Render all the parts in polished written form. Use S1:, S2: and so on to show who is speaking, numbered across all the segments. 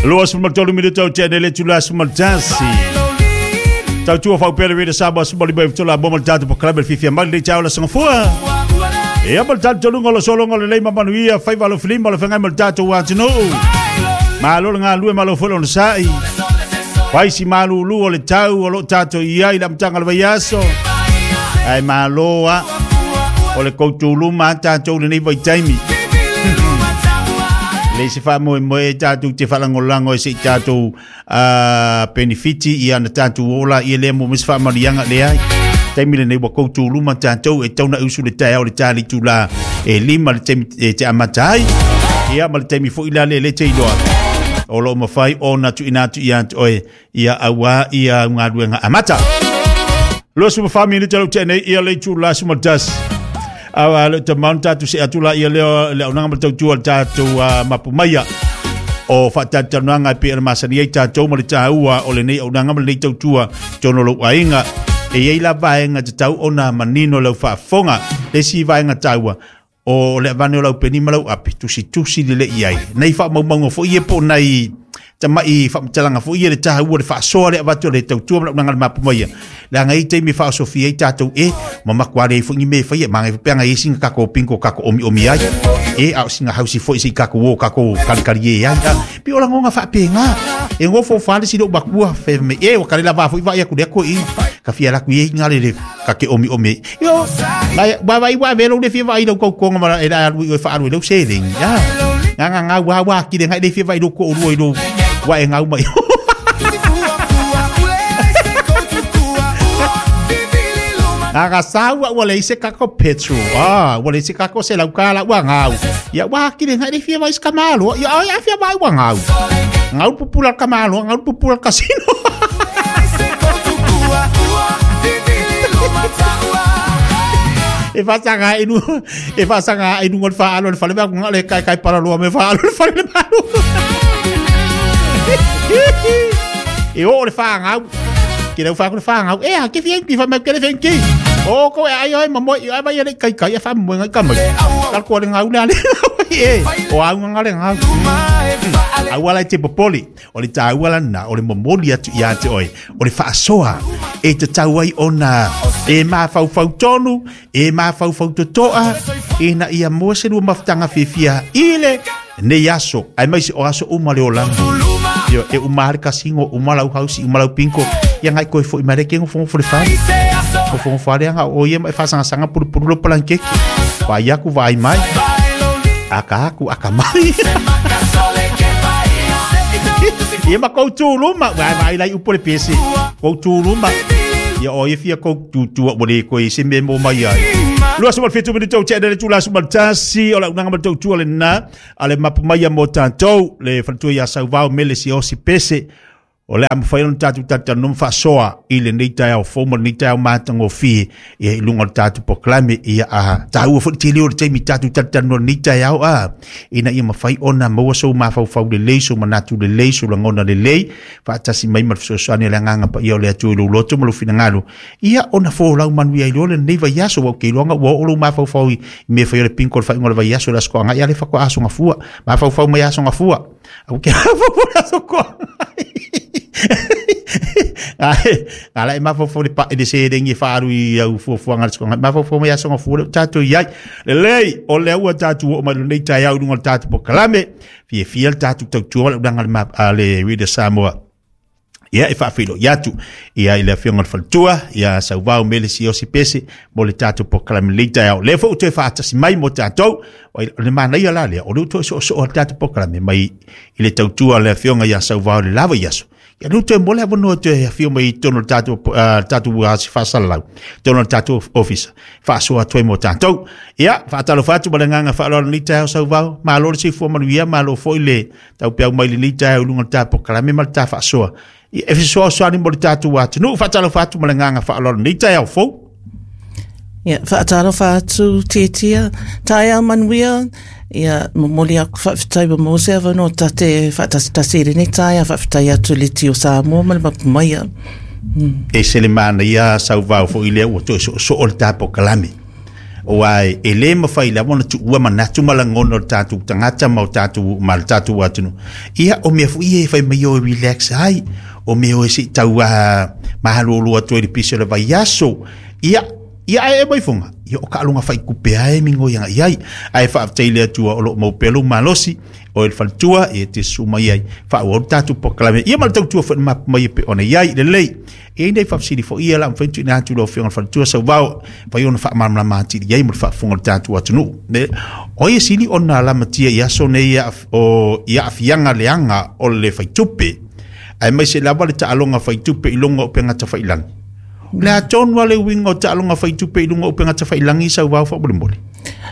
S1: 23 minuta o te le tula 11. Tautua faupea le Rita Samoa suma lima i tola mo ma le tatou polokalame le fiafia mai lenei taeao le aso Gafua. Ia ma le talitonuga o le sologa o lelei ma manuia faiva alofilima o le feagai ma le tatou atunuu. Malo le galulue, malo foi le onosai. Fai si malulu o le tau o lo o tatou i ai i le amataga o le vaiaso. Ae malo a o le koutuluma a tatou lenei vaitaimi. Le se faamoemoe tatou te faalagolago e se i tatou penefiti ia na tatou ola ia lea mo se faamanuiaga leai. Taimi lenei ua koutuluma tatou e tau na usu le taeao le tali tula e lima le taimi e te amata ai. Ia ma le taimi foi la le le te iloa. O lo o mafai ona tuuina atu ia te oe ia auā ia galuega amata. 24 minute lau te nei ia le itula 11. Awa le te maun tatu se atu la ia leo le aunaga ma tautua le tatou mapu maia. O whaatatanuanga e pe masani ai tātou ma le tāua o lenei aunaga ma lenei tautua tono lou aiga. E iai la vaega te tau ona manino lau faafofoga. Le isi vaega taua, o le avane o lau peni ma lau api, tusitusi lelei i ai. Nei faamaumauga foi ia po o nai tamai faamatalaga foi ia le taua le faasoa le avatu o le tautua ma le auaunaga a le mapu maia. Leaga e i ai taimi e faaosofia ai tatou e ma matua leai foi ni mea e faia. Manaia foi pe ana i ai sina tatou bingo tatou omiomi ai. E a o sina hausi foi se i tatou o tatou kalikali e ai. A, pei o lagona faapena. E nofo fale si lou matua fai mai, e ua kale lava foi vaai atu lea toeaina. Ka fia alu atu i ai ina le ka te omiomi ai. Io, nai, wa vai wa velo le fia vaai lau tautoga ma e alu i oe faaalu i lau seleni. A, nga nga nga wa wa kile ngai le fia vaai lou toalua i lou wa e gau mai. Nga sau ua leai se kako petrol. Ah, ua leai se kako se lau kala ua ngau. Ia wa kile ngai le fia vai ska malo. Ia ai a fia vai ua ngau. Ngau pupula ka malo, ngau pupula kasino. E whasanga inu, e whasanga inu ngol whaalo le whale mea kunga le kai kai paraloa me whaalo le whale le malo. E o le whangau. Ke rau whaku le whangau. E a ke whia ki whamau ke le whenki. O ko e ai oi mamoe i ai vai le kai kai e whamoe ngai kamai. Kal ko le ngau le ale. E, o au nganga le ngau. Aua lai te popoli. O le tāua lana, o le momoli atu ia te oe. O le whaasoa e te tau ai ona e mafaufau tonu, e mafaufau totoa, ina ia mua se lua mafutaga fiafia i le nei aso, aemaise o aso uma le olaga. Ioe, e uma lava le kasino, uma lau hausi, uma lau bingo, ia ngai koe foi mai le ke nofonofo le fale. Nofonofo lava le aga o ia ma e faasagasanga pulupulu lou palankeke. Vaai aku vaai mai. Aka aku aka mai. Ia ma kou tū luma, vai vai lai upu le pese. Kou tū luma. Ia o ia fia kou tutua ua le koe se mea mo mai ai. 27 minute o te le tula 11 o le auaunaga ma le tautua lena a le mapu mai mo tatou le faletua ia Sauvao Mele Siaosi Pese o le a mafai ona tatou talatalanoa ma faasoa i lenei taeao fou ma lenei taeao matagofie ia i luga o le tatou polokalame ia a taua foi le tele o le taimi tatou talatalanoa lenei taeao a ina ia mafai ona maua sou mafaufau lelei sou manatu lelei sou lagona lelei faatasi mai ma le fesoasoani a le Agaga Paia o le Atua i lou loto ma lou finagalo ia ona folau manuia ai loa lenei vaiaso ua ou te iloaga ua oo lou mafaufau i mea fai o le bingo le faaiuga o le vaiaso le Aso Toagai a le faatoa aso gafua mafaufau mai aso gafua au ke mafaufau le Aso Toagai Ae, a la e mafaufau le pa i le seleni e faaalu i au fuafuaga a le Aso Toagai mafaufau mai aso gafua lea ua tatou i ai lelei o lea ua tatou oo mai lenei taeao i luga o le tatou polokalame fiafia le tatou tautua le auaunaga a le a le Radio Samoa ia e faafeiloai atu ia i le afioga i le faletua ia Sauvao Mele Siaosi Pese mo le tatou polokalame lenei taeao. Lea foi ua toe faatasi mai mo tatou. O le manaia la lea, o lea ua toe soosoo le tatou polokalame mai i le tautua a le afioga ia Sauvao i le la vaiaso. Ia lea ua toe maua le avanoa e toe afio mai i totonu o le tatou, tatou faasalalau, totonu o le tatou ofisa, faasoa atu ai mo tatou. Ia, faatalofa atu ma le agaga faaaloalo i lenei taeao Sauvao. Malo le soifua manuia, malo foi le taupeau mai lenei taeao i luga o le ta polokalame ma le ta faasoa. Ia, e fesoasoani mo le tatou atunuu. Faatalofa atu ma le agaga faaaloalo i lenei taeao fou.
S2: Ia, faatalofa atu Tiatia, taeao manuia, ia momoli aku faafetai ua maua se avanoa ta te faatasitasi i lenei taeao, faafetai atu i le Tio Samoa ma le Mapu Maia.
S1: E se le manaia Sauvao foi lea ua toe soosoo le ta polokalame. Aua e lē mafai lava ona tuua manatu ma lagona o le tatou tagata ma o tatou ma le tatou atunuu. Ia, o mea foi ia e fai mai o e relax ai, o mea o e se i tau malolo atu ai i le pisi o le vaiaso. Ia, ia ae e mai foga, ia o taaloga faitupe lava e migoi agai i ai. Ae faafetai i le Atua o lo o maua pea lou malosi, o e le faletua, e te susu mai ai, faaauau le tatou polokalame. Ia ma le tautua foi na mapu mai e pei ona i ai. Lelei. E i ai nai faafesili foi ia o le a mafai ona tuuina atu i lau Afioga i le Faletua Sauvao, mafai ona faamalamalama atili i ai mo le faafofoga o le tatou atunuu. O ai e sili ona lamatia i aso nei o i aafiaga leaga o le faitupe, aemaise lava le taaloga faitupe i luga o upega tafailagi? O le a tonu lava le uiga o taaloga faitupe i luga o upega tafailagi Sauvao faamolemole?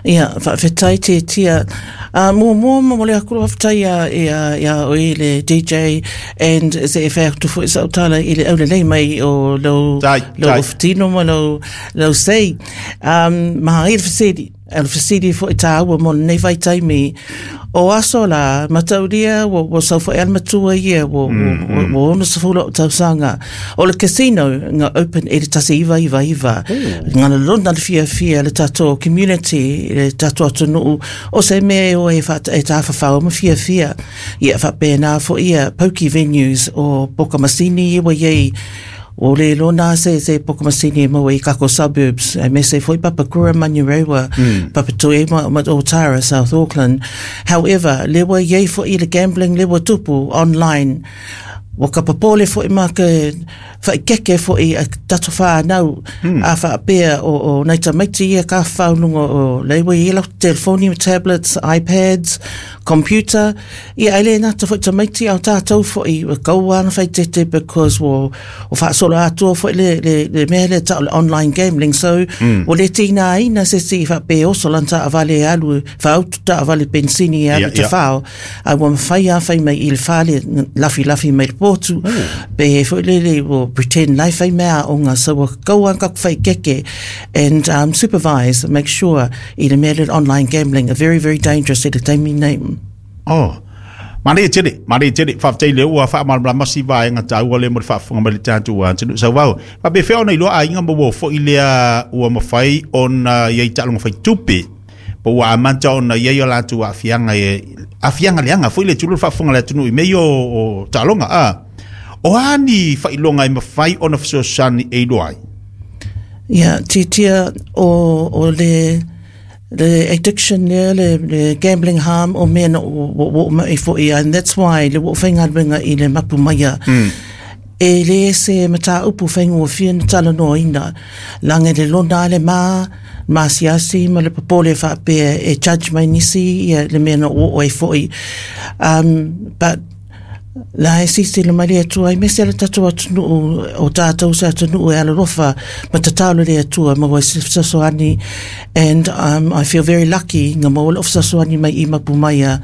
S2: Ia, faafetai Tiatia. Muamua momoli atu le faafetai ia, ia, ia oe le DJ and se e fai atu foi sau tala i le aulelei mai o lou,
S1: Tai,
S2: lou
S1: tai.
S2: ofutino ma lou, lou sei. Ma i le fesili, o le fesili foi tāua mo lenei vaitaimi. O aso la, mataulia ua, ua sau foi a le matua ia, ua, ua, ua, ua 60 o'u tausaga. O le casino nga open i le 1999, nga lona le fiafia le tatou community, le tatou atunuu, o se mea e o e, wha, e tāwhawhao ma fiafia. Ia whapēnā fo ia pokie venues o poka masini i wa iei, o le lona se se poka masini e maua i kako suburbs, e me se foi Papakura, Manurewa, Papatoe ma, ma Otara, South Auckland. However, lewa iei fo i le gambling, lewa tupu online. Ua ka popole foi ma ke whaikeke foi a tatou whānau a whaapea o, o nei tamaiti ia ka whaununga o leiwa i lau telefoni, tablets, iPads, computer. Ia ai le nata foi tamaiti au tātou foi ua kaua ana whaitete because ua o whaasolo atua foi le, le, le mea le tau le online gambling. So, ua le tīnā ina se si whaapea oso lan ta avale alu, whaautu ta avale pensini alu
S1: Ia,
S2: te
S1: ia.
S2: whao. A ua mafai lava fai mai i le fale, lafilafī mai le potu, pe foi lele ua pretend la e fai mai aoga, so ua kau lava kaku faikeke and supervise, make sure i le mea lea o le online gambling, a very very dangerous i le taimi nei.
S1: Oh. Manaia tele, manaia tele. Faafetai lea ua faamalamalama si vaega taua lea mo le faafofoga mai le tatou atunuu. Sauvao, faapefea ona iloa aiga ma ua foi lea ua mafai ona i ai taaloga faitupe po ua amata ona i ai o latou aafiaga e aafiaga leaga foi le tulou le faafofoga a le atunuu i mea ia o, o taaloga a o a ni faailoga e mafai ona fesoasoani e iloa ai?
S2: Ia, titia o, o le, le addiction lea, le, le gambling harm o mea na ua ua mai foi, and that's why le ua faigaluega i le mapu maia. E le se mataupu faigofie na talanoaina, laga i le lona a le ma, maasiasi ma le popole faapea e judge mai nisi ia le mea na oo ai foi. But la e silasila mai le Atua aemaise le tatou atunuu o tatou se atunuu e alolofa ma tatalo i le Atua maua ai se fesoasoani and I feel very lucky nga maua lou fesoasoani mai i mapu mai a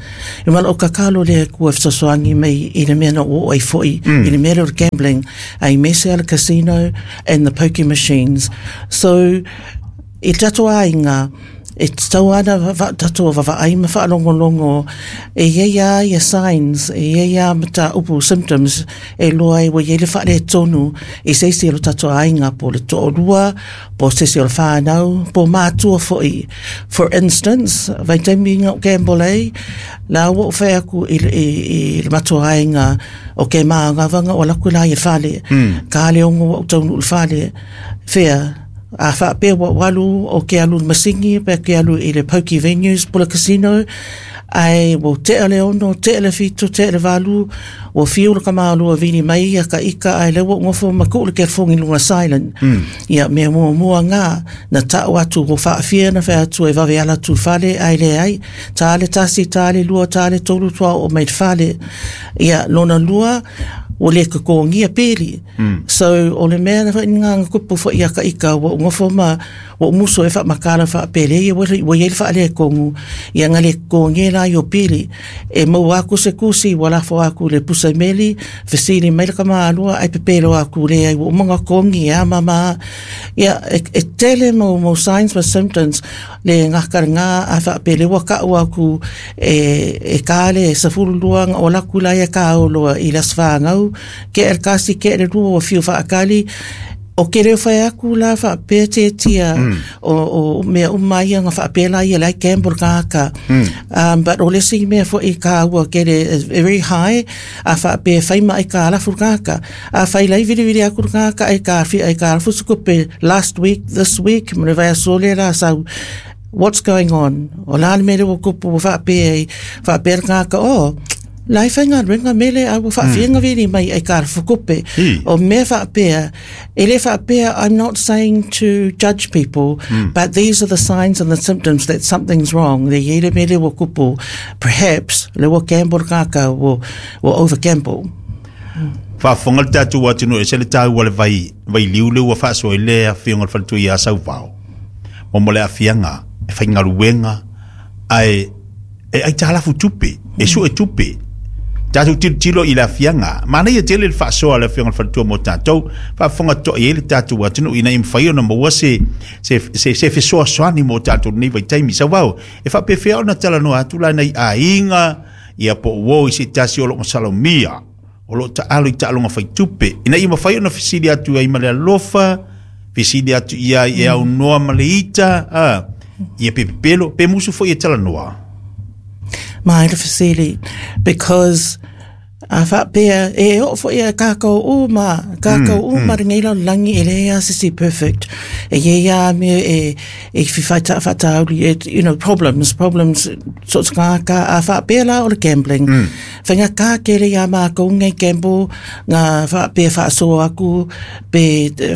S2: E mana o kakalo le Atua e fesoasoani mai i le mea na oo ai foi, i le mea lea o le gambling, aemaise lava le casino and the pokie machines. So, i le tatou aiga, e tatau lava ona tatou vaavaai ma faalogologo, e i ai lava ia signs, e i ai lava mataupu, symptoms, e iloa ai ua i ai le faaletonu i se isi o le tatou aiga, po o le toalua, po o se isi o le whānau, po o mātua foi. For instance, vaitaimi nga o gamble ai, la ua ou fai atu i, i, i le matua aiga o ke māngawanga o ala aku la i fale. Ka le ongo ua ou taunuu i le fale, whea, a whaapea ua ou alu o ke alu i le masini, pe ke alu i le pokie venues, po le casino, ai ua tea le 6, tea le 7, tea le 8, ua fiu le kamalua vili mai ia ka ika ae lea ua ou nofo ma tuu le telefoni i luga silent. Ia mea muamua nga na tau atu ua faafia na fai atu e vave ala atu i le fale ae leai, ta le tasi, ta le lua, ta le tolu toa oo mai i le fale. Ia lona lua, ua le totogia peli. So o le mea na foi nga nga kupu foi ia ka ika ua ou nofo ma ua ou musu e faamatala faapelei ia ua ua i ai le faaletonu ia na le totogia la i o pili. E maua atu se tusi ua lafo atu i le pusa meli, fesili mai le tamālua ae pepelo atu leai ua uma ona totogi e a ma ma. Ia e, e tele mau, mau signs ma symptoms le gata lena a faapea lea ua tau atu e, e ka le 12 na ola atu la ia ka oloa i le aso fanau, kea le tasi, kea le lua ua fiu faatali. O ke leo whai aku la whaapea tiatia o mea uma ia nga whaapea la ia lai gamble kāka. But o lesi mea fo i kā ua kere is very high a whaapea whai mai kā alafu kāka. A whai lai viri viri aku kāka ai kā whia ai kā alafu sukupe last week, this week, mre vai sole la sau. What's going on? O la le mele o kupu o whaapea i whaapea kāka o lai whai ngā renga mele a ua whaawhianga viri mai ai kā fukupe. O mea whaapea, e le whaapea, I'm not saying to judge people, but these are the signs and the symptoms that something's wrong. Le iere mele o kupu, perhaps, le ua gamble kāka, ua over gamble.
S1: Faafofoga le tatou atunuu e ese le taua o le vai vailiu lea ua faasoa ai le afioga o le faletua ia Sauvao mo le aafiaga e faigaluega ae e aitalafu tupe e sue tupe tatou tilotilo i le aafiaga. Manaia tele le faasoa a le afioga o le faletua mo tatou faafofoga totoa i ai le tatou atunuu ina ia mafai ona maua se se se se fesoasoani mo tatou i lenei vaitaimi. Sauvao, e faapefea ona talanoa atu la nai aiga ia po o uo i se tasi o lo o masalomia o lo o taalo i taaloga faitupe ina ia mafai ona fesili atu ai ma le alofa, fesili atu i ai e aunoa ma le ita, a, ia pe pepelo, pe musu foi e talanoa.
S2: Mai le fesili, because a whaapea, e o fo ia kākau uma, kākau uma ringa ila langi e lea sisi perfect. E ye ia me e, e whiwhai ta whatauri, e, you know, problems, problems, so ngā ka, a whaapea la o le gambling. Whainga kā kere ia mākou ngai gamble, ngā whaapea whaasoa aku, pe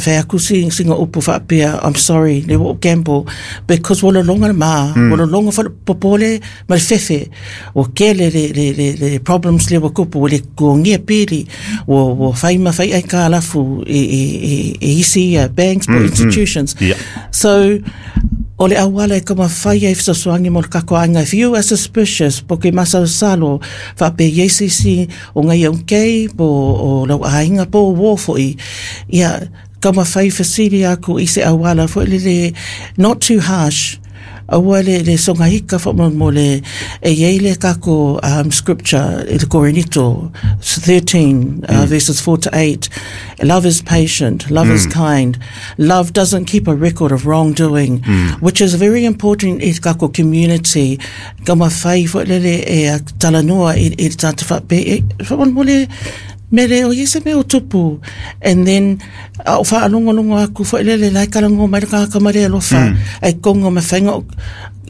S2: whai aku si, singa upu whaapea, I'm sorry, le wo gamble, because wala longa mā, wala longa whala popole, ma le fefe, o kele le, le, le, le problems le wa kupu, le kuongia pili, o, o whai ma whai ai kā lafu i, i, i, i isi ia banks po institutions.
S1: Yeah.
S2: So, o le auala e kama whai ai fesoasoani mo le kako anga. If you are suspicious, po ke masalosalo, whape iesisi o ngai au kei, po o lau ainga, po o wōfoi, ia, kama whai fesili aku i se auala, fo le le, not too harsh, aua le, le songa hika fo mo, mo le, e iei le kako scripture, i le Korinito 13, verses 4 to 8. Love is patient, love is kind. Love doesn't keep a record of wrongdoing, which is very important i kako community. Kama whai fo lele e a talanoa i, i tata whape, e, wha mo le, mele o iese me o tupu. And then, a o whaalongolongo aku fo lele lai karango mai ka kamare alofa, ai kongo me whainga o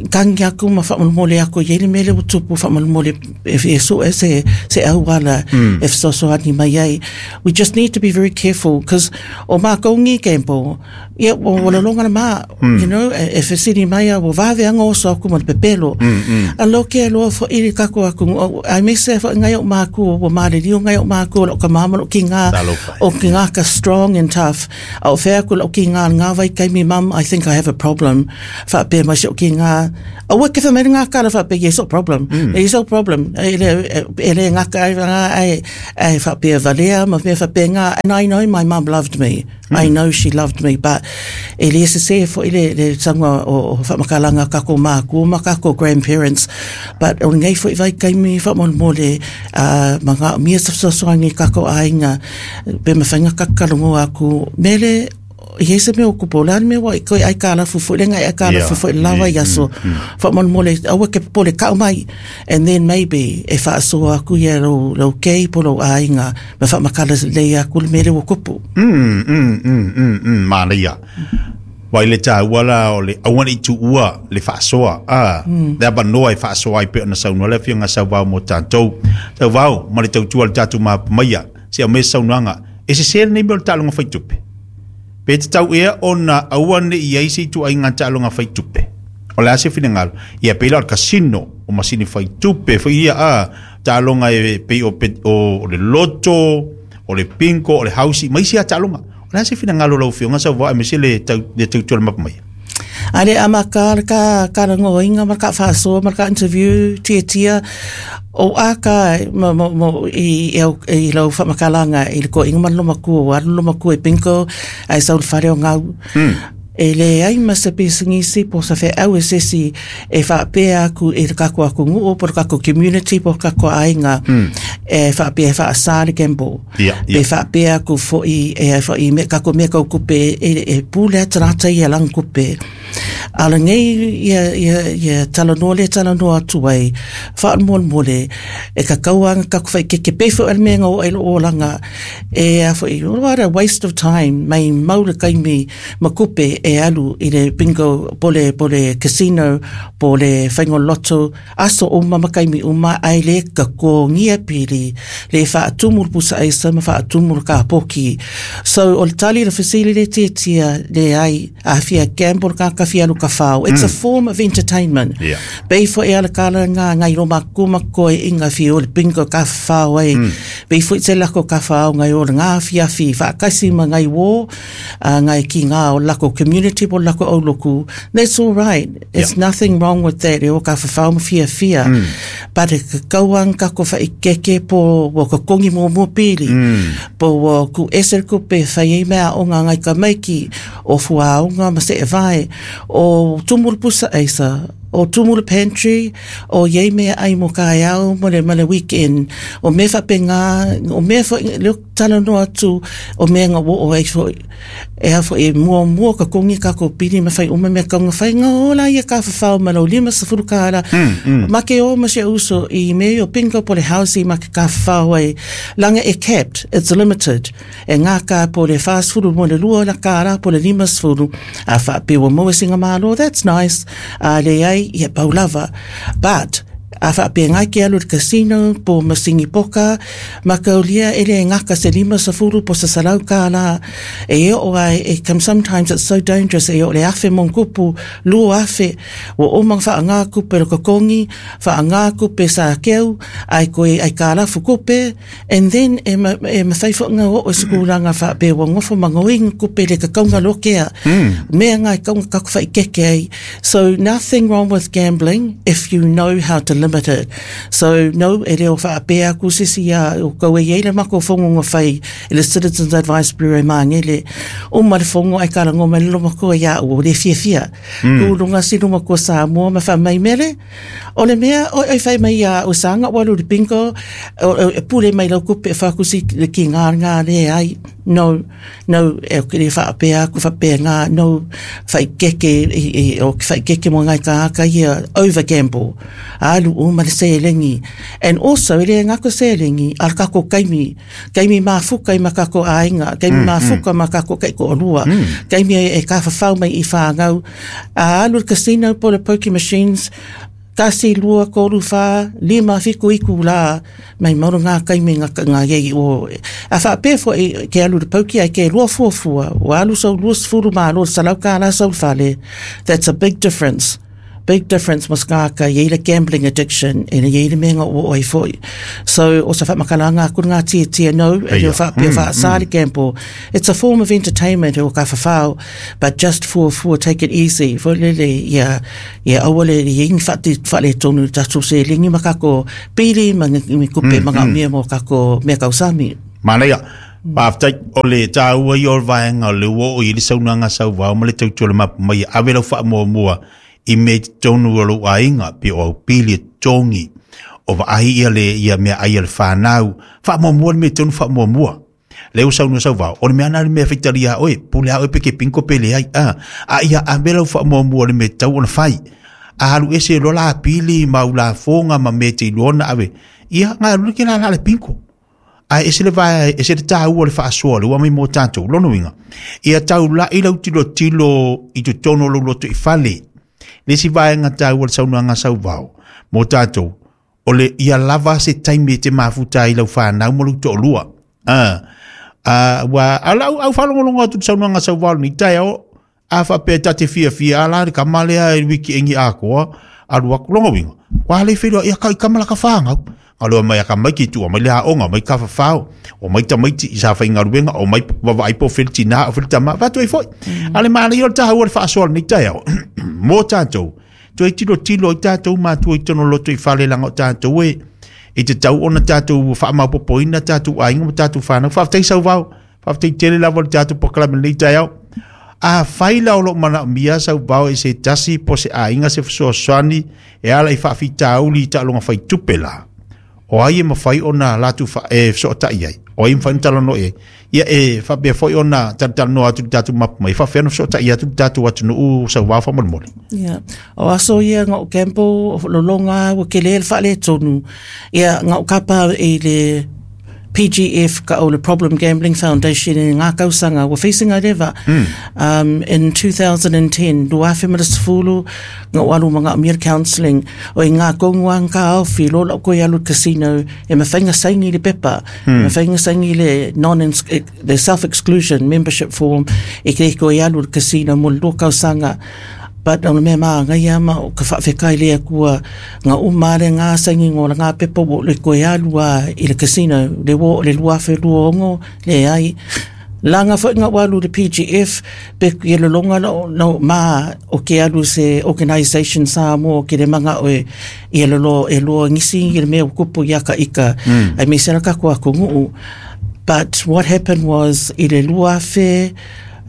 S2: kangi aku ma whamalmole aku iele mele o tupu whamalmole e, e so e se, se auala e fesoasoani mai ai. We just need to be very careful because o mākou ngi gamble, ia o wala longa ma, you know, e, e fesili mai a o vave anga oso aku ma le pepelo. A lo ke loa fo iri kako aku, ai me se fo ngai o māku, o mare rio ngai o māku, o ka mama o ki ngā,
S1: Talofa.
S2: o ki ngā ka strong and tough. A o whea aku lo ki ngā ngā vai kai mi mum, I think I have a problem. Whaapea mai se o ki ngā, a ua ke whamere ngā kara whaapea, yes, o problem. Yes, o problem. E le, e le ngā kai ngā ai, ai whaapea valea, ma mea whaapea ngā, and I know my mum loved me. I know she loved me, but e le se se fo i le, le sanga o, o whamakalanga kako māku, ma kako grandparents, but o ngai fo i vai kai mi whamolmole, ma ngā mia safsosoangi kako ainga, pe mawhainga kakalongo aku, mele, i hese me o kupo, la me wa i koe ai kāla fufu, le ngai ai kāla
S1: Yeah.
S2: fufu, lawa i aso, whamolmole, aua ke pole kau mai, and then maybe, e whaasoa aku ia lau, lau kei po lau ainga, me whamakala lei aku le mele o kupu.
S1: Manaia. Wai le tāua la o le aua nei tuua le faasoa a le avanoa e faasoa ai pei ona saunoa le afioga Sauvao mo tatou. Sauvao ma le tautua o le tatou mapamaia se aumai se saunoaga e sesē lenei mea o le taaloga faitupe. Pe tatau ea ona aua nei i ai se ituaiga taaloga faitupe. O le a se finagalo? Ia pei la o le kasino, o masini faitupe foi ia a taaloga e pei o, pe, o, o le loto, o le bingo, o le hausi, ma isi a taaloga. O le a se finagalo o lau afioga Sauvao aemaise le tau, le tautua le mapamaia?
S2: Ale ama ka ka ka rangoinga ma ka whaasoa ma ka interview tia tia o aka mo mo mo i i au i lau whamakalanga i le ko inga man loma ku o alu loma ku e bingo ai sau le whare o ngau. E le ai ma se pisingisi po sa whe au e sesi e whaapea aku i le kako aku nguu po le kako community po kako ainga. E whaapea e whaasa le gamble.
S1: Ia.
S2: Pe whaapea aku fo'i e ai fo'i me kako mea kau kupe e pule atu rātou ia lang kupe. A le nei ia talanoa le talanoa atu ai, whaamolemole, e ka kauanga kako whai keke pe fo'i ale mea ngā o ai lo olanga, e a fo'i, what a waste of time, mai mau le kaimi ma kupe e alu i le bingo, po le casino, po le whaingo lotto, aso uma ma kaimi uma ai le kakongia pili le whaatumu le pusa aisa ma whaatumu le kapoki. So o le tali le fesili le tiatia le ai a fia gamble ka ka fia luka whao. It's a form of entertainment. Pei fo e ala kala ngā ngai roma kuma koe i ngā fia o le bingo ka whao ai. Pei fo i te lako ka whao ngai o le ngā fia fi whaakasi ma ngai wō ngai ki ngā o lako community po lako au loku. That's all right. It's nothing wrong with that. E o ka whawhao ma fia fia. But e ka kauang ka ko whai keke po wa ka kongi mō mō pili. Po wa ku ese ku pe whai e mea o ngā ngai ka maiki o fua o ngā ma se e vai o tumulu pusa eisa o tumulu pantry o iei mea ai mo ka au mo le ma le weekend o me whape ngā o me wha le talanoa atu o mea ngā wo o ai fo e a fo e mua mua ka kongi ka ko pili ma whai uma mea kaunga whai ngā ola ia ka whawhao ma lau 50 kāra ma ke o ma se uso i me o bingo po le house i ma ke ka whawhao ai langa e capped, it's limited e ngā ka po le 40 mo le lua la kāra po le 50 a wha pe wa mo e singa malo, that's nice, a le ai ia pau lava, but a wha pe ngai ke alu le casino po masingi poka ma kaulia e le ngaka se 50 po sa salau ka la e o ai e come. Sometimes it's so dangerous e o le afe mon kupu lua afe o o mang wha ngā kupe lo kokongi wha ngā kupe sa keu ai koe ai ka la fukupe and then e ma whai wha o o skulanga wha pe wa ngofo mangoing kupe le kakaunga lokea mea ngai kaunga kaku whai keke ai. So nothing wrong with gambling if you know how to limit it. So no e leo wha pe aku sisi ia o kau e le mako whongonga whai e le Citizens Advice Bureau mangele o ma le whongo ai kala ngoma le lomako ia o le fia fia ku lunga si luma ko sa mua ma wha mai mele o le mea o ai whai mai ia o sanga walu le bingo o e pule mai lau kupe e whakusi le ki ngā ngā le ai. No, no, e o kere whaapea aku whapea ngā no whai keke i o whai keke mo ngai ka aka ia over gamble alu o ma le selengi and also e le ngako selengi al kako kaimi kaimi mafuka i makako ainga kaimi mafuka makako kai ko lua kaimi e ka whawhau mai i whāngau a alu le casino po le poker machines tasi lua kolu whā lima fiku iku la mai mauro ngā kaimi ngā ngā iei o a whaapea fo e ke alu le pauki ai ke lua fua fua o alu sau lua sefulu malo salau ka la sau fale. That's a big difference, big difference mas ngā ka iei le gambling addiction e le iei le mea ngā o ai foi. So o sa whamakalanga aku ngā tia tia no e leo whaapea wha sali gamble, it's a form of entertainment o ka whawhao, but just fua fua, take it easy fo lele ia ia aua le ia ingi whaati whale tonu tatu se lingi makako pili ma ngi kupe ma ngā mea mo kako mea kausami.
S1: Manaia, Whaftai, o le tāua i o le vaenga o le ua o i le saunanga sauvao ma le tautua le mapu mai ave lau wha mua mua i me tonu o lou aiga pe o au pili e togi o vaai ia le ia mea ai a le fanau faamuamua le mea tonu faamuamua le ua saunoa sauvao o le mea na le mea faitalia oe pule a oe pe ke pinko pe leai a ia ave lau faamuamua le mea tau ona fai a alu ese loa la pili ma ulafoga ma mea te iloa ona ave ia gae alu ke lala le pinko ae ese le vae ese le tāua le faasoa le ua mai mo tatou lona uiga ia taula'i lau tilotilo i totonu o lou loto i fale le isi vaega taua le saunoaga sauvao mo tatou o le ia lava se taimi e te mafuta ai lau fanau ma lou to'alua ua a lau au faalogologo atu le saunoaga sauvao lenei taeao a faapea ta te fiafia ala le kama lea e wiki engi akoa alu aku longa winga kwa le felo ia kai kama la ka whangau aloa mai aka mai ki tua mai le aonga mai ka whawhao o mai tamaiti i sa whaingaruenga o mai wawai po whilti nā o whilti tama whatu e foi ale maana i o le taha ua le whaasoa lenei taeao mō tātou toe tilo tilo i tātou mātua i tono loto i whale langa o tātou e i te tau ona tātou whaamaupopoina tātou aiga ma tātou whānau whawhtai sauvao whawhtai tele lava le tātou pokalame lenei taeao a whai la o loo manaomia sauvao e se tasi po se aiga se fesoasoani e ala i faafitauli i taaloga faitupe la. O ai e mafai ona latou e fesootai ai, o ai e mafai ona talanoa i ai. Ia e faapea foi ona talatalanoa atu i le tatou mapu mai, e faapefea ona fesootai atu le tatou atunuu Sauvao faamolemole.
S2: Ia, o aso ia na ou gamble, o lologa ua tele le faaletonu. Ia, na ou kapa i le PGF ka o le Problem Gambling Foundation i ngā tausaga ua facing ai leva. In 2010, 2010, na ou alu ma ngā mea counselling, o i ngā kongu a ngā ofi, lo lau koe alu casino, e mawhainga saini le pepa, e mawhainga saini le non the self-exclusion membership form, e ke koe alu le casino mo le lua tausaga. But o le mea māngai ma o ka whaawhekai le akua ngā uma le ngā saini ngō la ngā pepa o le koe alu a i le casino, le wo le lua awhe lua ongo, le ai. La ngā whai ngā walu le PGF, pe i le longa lo, lo ma o ke alu se organisation Samoa ke le manga o e i le lo e loa ngisi i le mea o kupu i aka ika. Ai me sera ka kua kongu. But what happened was i le lua awhe,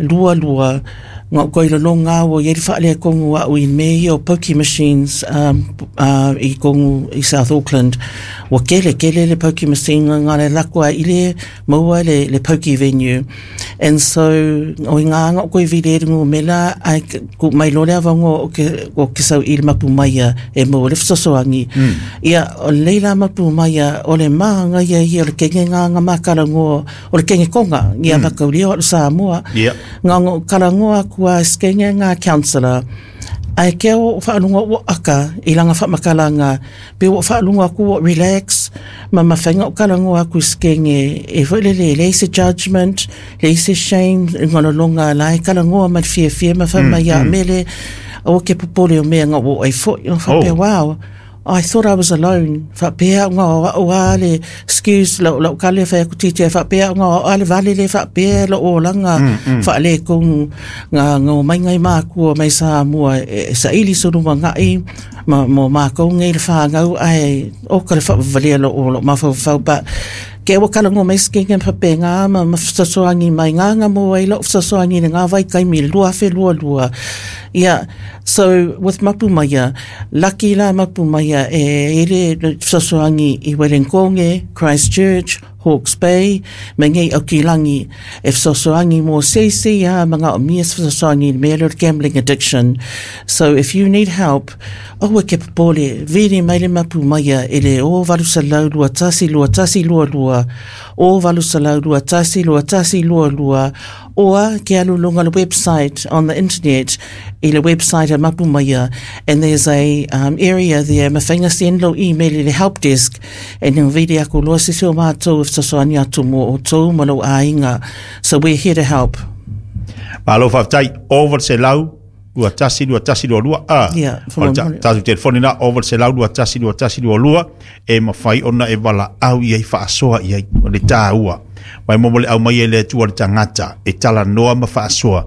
S2: lua lua, ngā koe le longa o i whaale kongu au i me i o pokie machines i kongu i South Auckland. Wa kele kele le pokie machine ngā le lakua i le maua le pokie venue. And so, o i ngā ngā koe vile rungu mela, ai ku mai lore awango o ke sau i le mapu maia e maua le whasosoangi. Ia, o leila mapu maia, o le maanga ia ia o le kenge ngā ngā makara ngō, o le kenge konga, ia makauria o Samoa. Ngā ngō karangoa kua skenge ngā counselor. Ai ke o whaalunga o aka i langa whamakalanga, pe o whaalunga ku o relax, ma mawhenga o karangoa ku skenge, e whaile le le se judgment, le se shame, ngā longa lai karangoa ma fie fie ma whama ia mele, o ke popole o mea ngā o ai fo, o whapea, wow, I thought I was alone. Whapea ngā o ale, excuse, lau lau kale whai aku titi, whapea ngā o ale vale le whapea lo o langa, whaale kongu, ngā ngā mai ngai mākua mai Samoa, e sa ili suru ma ngai, ma mo mākou ngai le whāngau, ai, o ka le whavalia lo o lo mawhau but ke o kala ngō mai skenge whapea ngā ma ma whasoangi mai ngā ngā mō ai lo whasoangi le ngā vai kai mi lua whe lua lua. Yeah, so with Mapu Maia, lucky la Mapu Maia e ere whasoangi i Werenkonge, Christchurch, Hawke's Bay, me ngei Okilangi, e whasoangi mō seisi a mga o mia whasoangi me le gambling addiction. So if you need help, aua ke popole, viri mai le Mapu Maia e le o valu salau lua tasi lua tasi lua lua, o valu salau lua tasi lua tasi lua lua, or ke alu lunga le website on the internet, i le website a Mapu Maia, and there's a area there, mawhainga send lo email i le help desk, and ngā viri aku loa sisi o mātou e whasoani atu mō o tō malo āinga. So we're here to help.
S1: Malo whaftai, over se lau, lua tasi, lua tasi, lua lua, a.
S2: Yeah,
S1: O le tātou telefoni na, over se lau, lua tasi, lua tasi, lua lua, e mawhai ona e wala au i ai whaasoa i ai, o le tāua. Mai momo le au mai e le atua le tangata, e tala noa ma whaasoa.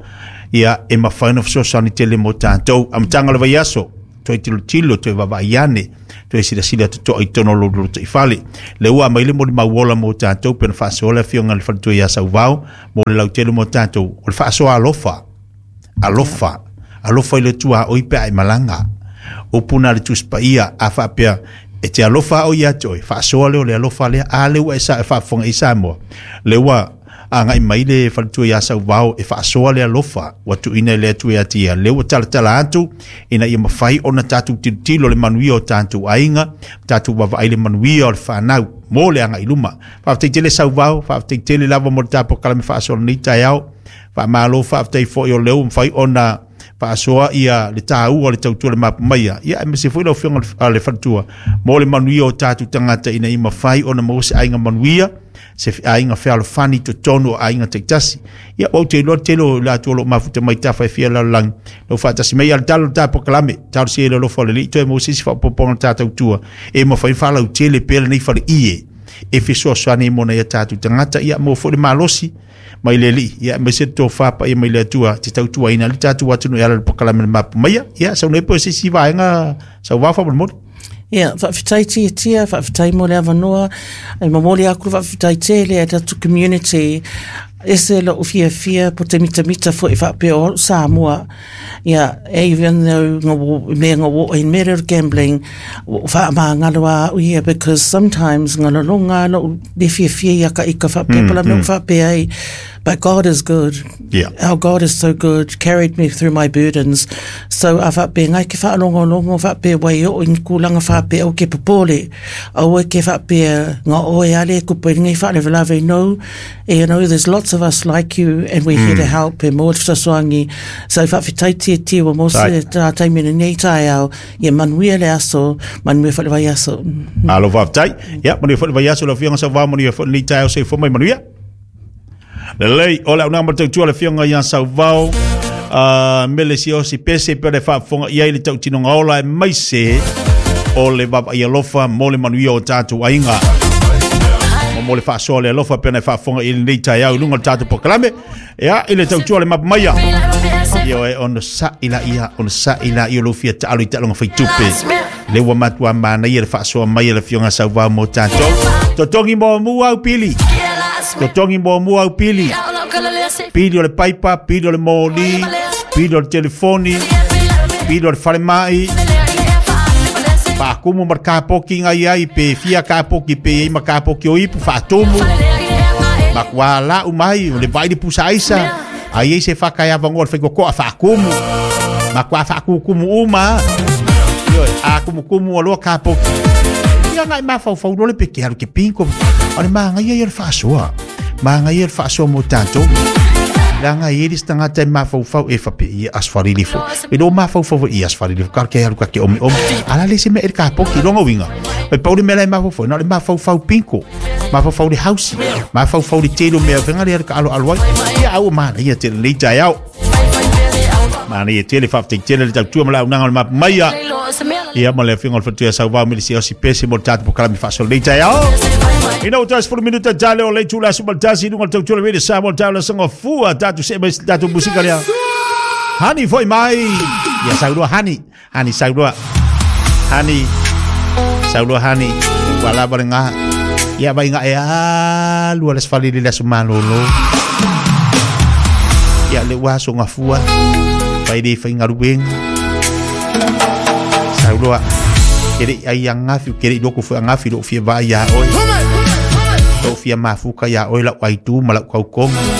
S1: Ia, e mawhai na whasoa ni tele mo tātou. Amtanga le vaiaso, toi tilo tilo, toi vava iane, toi sila sila te toa i tono lo lo te i fale. Le ua mai le mo le mauola mo tātou, pena whaasoa le whionga le whanatua i a sauvao, mo le lautele mo tātou. O le whaasoa alofa, alofa, alofa i le tua o i pea i malanga. O puna le tuspa ia, a whaapea, e te alofa o ia toi, whaasoa leo le alofa lea, a le ua e sa e whaafonga i Samoa. Le ua a ngai mai le whanatua i a sauvao, e whaasoa le alofa, ua tu ina le atu e atia. Le ua tala tala atu, ina ia mawhai ona tātou tilotilo le manuia o tātou ainga, tātou wawai le manuia o le whanau, mō le anga i luma. Whaaftai tele sauvao, whaaftai tele lava mo le tāpo kalame whaasoa nei tai ao, whaamalo whaaftai fo i o leo mwhai ona whaasoa ia le tāua le tautua le mapu maia. Ia, e mese fo i lau whionga le whanatua, mō le manuia o tātou tangata ina i mawhai ona mō se ainga manuia, se ainga whealofani to tonu o ainga teitasi. Ia, wau te loa telo la tua lo mafuta mai tawha e fia lalang. Lau whaatasi mai al talo tā pokalame, talo si e le lofo le li, toe mō sisi whapoponga tātou tua. E mawhai whalau tele pele nei whare ie. E whisoa soane mona ia tātou tangata, ia mō fo le malosi, mai le li, ia mai se tō whapa ia mai le atua, te tautua ina li tātou atunu e ala le pokalame le mapu maia, ia sau nei po sisi vaenga, sau wawha mo le mori.
S2: Ia, whaawhitai tia tia, whaawhitai mo le awanoa, e mamoli aku whaawhitai tele e tatu community. Ese lo'u fiafia po te mitamita fo'i faapea o a'u Samoa. Ia, even though nga mea nga wo in mea o gambling, ua ou faamagalo lava a'u ia because sometimes nga lologa lava lo'u le fiafia ia ka ika faapea po o le a mea ua faapea ai. But God is good. Our God is so good, carried me through my burdens. So a faapea ngai ke faalogologo faapea ua e oo i ni kulaga faapea aua ke popole, aua ke faapea nga oe ale e kupu ai lenei faalavelave no. You know, there's lots of us like you and we're here to help e mo le fesoasoani. So faafetai tietie ua mo se tā taimi lenei taeao. Ia manuia le aso, manuia foi le vaiaso.
S1: Malo faafetai. Ia, manuia foi le vaiaso lau Afioga Sauvao, manuia foi lenei taeao soifua mai manuia. Lelei, o le auaunaga ma le tautua a le Afioga ia Sauvao, Mele Siaosi Pese pe le faafofoga i ai le tautinoga ola aemaise o le vaavaai alofa mo le manuia o tatou aiga. Ma mo le faasoa le alofa pe na faafofoga i lenei taeao i luga o le tatou polokalame. Ia, i le tautua le mapu maia. Ia oe ono sa'i la ia, ono sa'i la ia o lou fia taalo i taaloga faitupe. Le ua matua manaia le faasoa mai a le Afioga Sauvao mo tatou. Totogi muamua au pili. Totogi muamua au pili. Pili o le paipa, pili o le moli, pili o le telefoni, pili o le falemai. Faakumu ma le kapoki ngai ai pe fia kapoki pe i ai ma kapoki o ipu faatumu. Matua lau mai o le vai le pusa aisa. A i ai se faka e avanoa le faikokoa faakumu. Matua faakukumu uma. Ioe, a kumukumu aloa kapoki. Ia ngai mafaufau loa le pe ke alu ke pinko. O le magaia ia o le faasoa. Magaia le faasoa mo tatou. Leaga e i ai le isi tagata e mafaufau e faapea ia asfalili fo. E le o mafaufau foi ia asfalili fo. Kar ke alu ka ke ome ome. A la le se mea e le kapoki longa uiga. Mai pau le mea la e mafaufau, na o le mafaufau pinko. Mafaufau le hausi. Mafaufau le tele o mea fenga le ka alo alo ai. Ia au manaia tele nei taeao. Manaia tele faafetai tele le tautua ma le auaunaga o le mapu maia. Ia ma le afioga o le Faletuia Sauvao Melisia Osi Pese mo le tatou polokalame faasolo nei taeao. Ina ua toe 10 minuta tale o le itula aso ma le tasi i luga o le tautua le Radio Samoa le taula songa fua tatou see mai se tatou musika lea. Hani foi mai. Ia sauloa hani. Hani sauloa. Hani. Sauloa hani. Ua lava le ngā. Ia vai ngā e alu ala sefali le aso malolo. Ia le ua aso ngafua. Vai le whaingaruenga. Sauloa. Ke le ai angafi, ke le loko fue angafi lo fia vai ia oi. Lo fia mafuka ia oi lau aitu ma lau kaukonga.